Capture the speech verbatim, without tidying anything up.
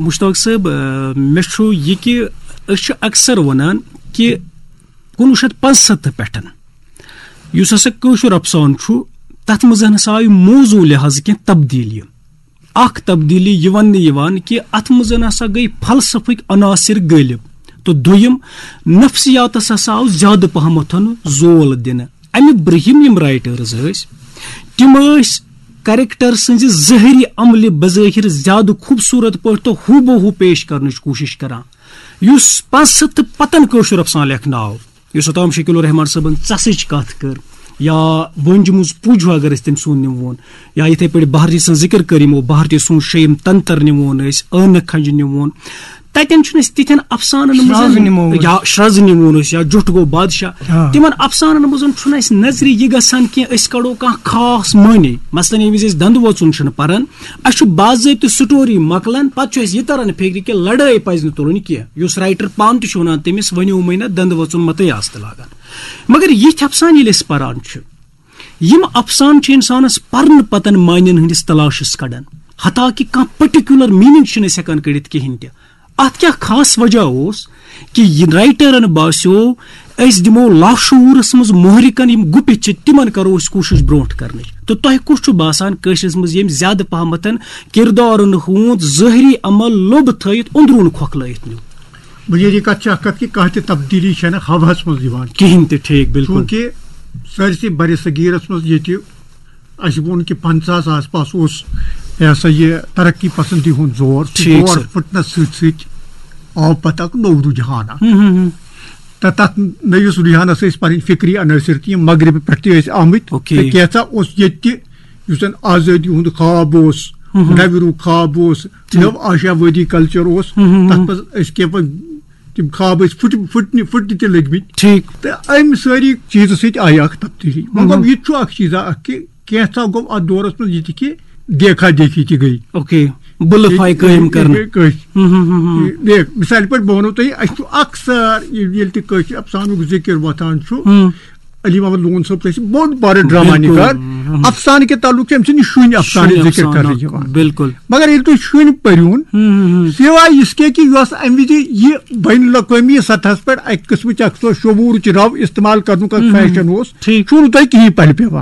مشتاق صٲب، آ، مےٚ چھُ یہِ کہِ أسۍ چھِ اکثر وَنان کہِ کُنوُہ شیٚتھ پانٛژستھ پٮ۪ٹھ یُس ہسا کٲشُر افسانہٕ چھُ، تَتھ منٛز ہسا آیہِ موضوع لحاظ کینٛہہ تبدیٖلی۔ اکھ تبدیٖلی یہِ وَننہٕ یِوان کہِ اَتھ منٛز ہسا گٔے فلسفٕکۍ عناصر غٲلب، تہٕ دوٚیِم، نفسیاتس ہسا آو زیادٕ پہمتھ زول دِنہٕ۔ اَمہِ برٛونٛہِم یِم رائٹرز ٲسۍ، تِم ٲسۍ کریکٹر سٕنٛزِ ظٲہری عملہِ بظٲہر زیادٕ خوٗبصوٗرت پٲٹھۍ تہٕ ہو بہ ہو پیش کرنٕچ کوٗشش کران۔ یُس پانٛژھ ہتھ تہٕ پتن کٲشُر افسانہٕ لیکھنہٕ آو، یُس اوٚتام شکیل الرحمان صٲبن ژَسٕچ کتھ کٔر، یا وٲنجہِ منٛز پُج ہُہ اگر أسۍ تٔمۍ سُنٛد نِمون، یا یِتھے پٲٹھۍ بھارتی سٕنٛز ذِکر کٔر یِمو، بھارتی سُنٛد شیٚیِم تنتر نِمون أسۍ، ٲنہٕ کھنجہِ نِمون، تتٮ۪ن چھُنہٕ أسۍ تِتھٮ۪ن افسانن منٛز شرٛز نِمون أسۍ۔ یا شرٛز نِمون أسۍ، یا جُٹھ گوٚو بادشاہ۔ آ۔ تِمن افسانن منٛز چھُنہٕ اَسہِ نظرِ یہِ گژھان کینٛہہ أسۍ کڑو کانٛہہ خاص معنی۔ مثلاً ییٚمہِ وِزِ أسۍ دندٕ وۄژُن چھُنہٕ پران، اَسہِ چھُ باضٲبطہٕ سٹوری مۄکلان، پتہٕ چھُ اَسہِ یہِ تران فِکرِ کہِ لڑٲے پزِ نہٕ تُلٕنۍ کینٛہہ۔ یُس رائٹر پانہٕ تہِ چھُ ونان، تٔمِس ؤنِو مٕے نہ، دندٕ وۄژُن متے آسہٕ تہٕ لاگان۔ مگر یِتھۍ افسانہٕ ییٚلہِ أسۍ پران چھِ، یِم افسانہٕ چھِ انسانس پرنہٕ پتن معنین ہٕنٛدِس تلاشس کڑان، حتیٰ کہِ کانٛہہ پرٹیکولر میننگ چھِنہٕ أسۍ ہٮ۪کان کٔڑِتھ کِہینۍ تہِ۔ اتھ کیٛاہ خاص وجہ اوس کہِ یہِ رائٹرن باسیو، أسۍ دِمو لاشعوٗرس منٛز محرکن یِم گُپِتھ چھِ، تِمن کرو أسۍ کوٗشش برونٛٹھ کرنٕچ؟ تہٕ تۄہہِ کُس چھُ باسان کٲشرِس منٛز ییٚمۍ زیادٕ پہمتن کردارن ہُنٛد ظٲہری عمل لوٚب تھٲیِتھ أنٛدروٗن کھۄکھلٲیِتھ نیوٗ؟ بُنیٲدی کَتھ چھِ اَکھ کَتھ کہِ کانٛہہ تہِ تبدیٖلی چھَنہٕ ہَوہَس منٛز یِوان۔ کِہیٖنۍ تہِ، ٹھیٖک، بِلکُل۔ چوٗنٛکہِ سٲرسٕے برِ صغیٖرَس منٛز ییٚتہِ اَسہِ ووٚن کہِ پنٛژاہَس آس پاس اوس، یہِ ہسا یہِ ترقی پسندی ہُنٛد زور، سُہ ٹھیٖک، دور سر۔ پھٕٹنَس سۭتۍ سۭتۍ آو پَتہٕ اَکھ نوٚو رُجحان اَکھ۔ ہُم، ہُم، ہُم۔ تہٕ تَتھ نٔوِس رُجحانَس ٲسۍ پَنٕنۍ فِکری عنٲصر تہِ یِم مغربہٕ پٮ۪ٹھ تہِ ٲسۍ آمٕتۍ۔ اوکے۔ تہٕ کینٛژھا اوس ییٚتہِ تہِ یُس زَن آزٲدی ہُنٛد خواب اوس، ہُم، ہُم۔ نوِ روٗ خواب اوس، ٹھیٖک۔ نٔو آشاوٲدی کلچر اوس، ہُم، ہُم، تَتھ ہُم۔ منٛز ٲسۍ کینٛہہ پَتہٕ تِم خواب ٲسۍ پھٕٹۍ-، پھٕٹنہِ، پھٕٹنہِ تہِ لٔگمٕتۍ۔ ٹھیٖک۔ تہٕ اَمہِ سٲری چیٖزٕ سۭتۍ آیہِ اَکھ تبدیٖلی۔ وۄنۍ گوٚو ہُم۔ یہِ تہِ چھُ اَکھ چیٖزا اَکھ کہِ کینٛژھا گوٚو اَتھ دورَس منٛز یہِ تہِ کہِ دیکھا دیکھی تہِ گٔے۔ اوکے۔ بُلہٕ فاے یہِ-، قٲیِم یہِ-، کرنہٕ۔ یہِ-، کٲشۍ۔ ہُم، ہُم، ہُم، ہُم۔ یہِ-، مثالہِ پٲٹھۍ بہٕ وَنو تۄہہِ، اَسہِ چھُ اَکثر یہِ-، ییٚلہِ تہِ کٲشِر افسانُک ذِکِر وۄتھان چھُ، ہُم۔ علی محمد لون صٲب تہِ چھِ بوٚڑ بارٕ ڈرامہ بِلکُل۔ نِگار۔ ہُم۔ افسانہٕ کہِ تعلقہٕ چھِ أمۍ سٕنٛدِ شُنۍ افسانٕچ شُنۍ ذِکِر افسانہٕ کرنہٕ اکھ۔ یِوان۔ بِلکُل۔ مگر ییٚلہِ تُہۍ شُنۍ پٔرِوُن، ہُم، ہُم، ہُم۔ سوائے یِس کے کہِ یۄس اَمہِ وِزِ یہِ بین الاقوٲمی سطحس پٮ۪ٹھ اَکہِ قٕسمٕچ اکھ سۄ شعوٗرٕچ رَو استعمال کرنُک اکھ ہُم، ہُم۔ فیشن اوس، ٹھیٖک۔ چھُو نہٕ تۄہہِ کِہیٖنۍ پَلہِ پٮ۪وان۔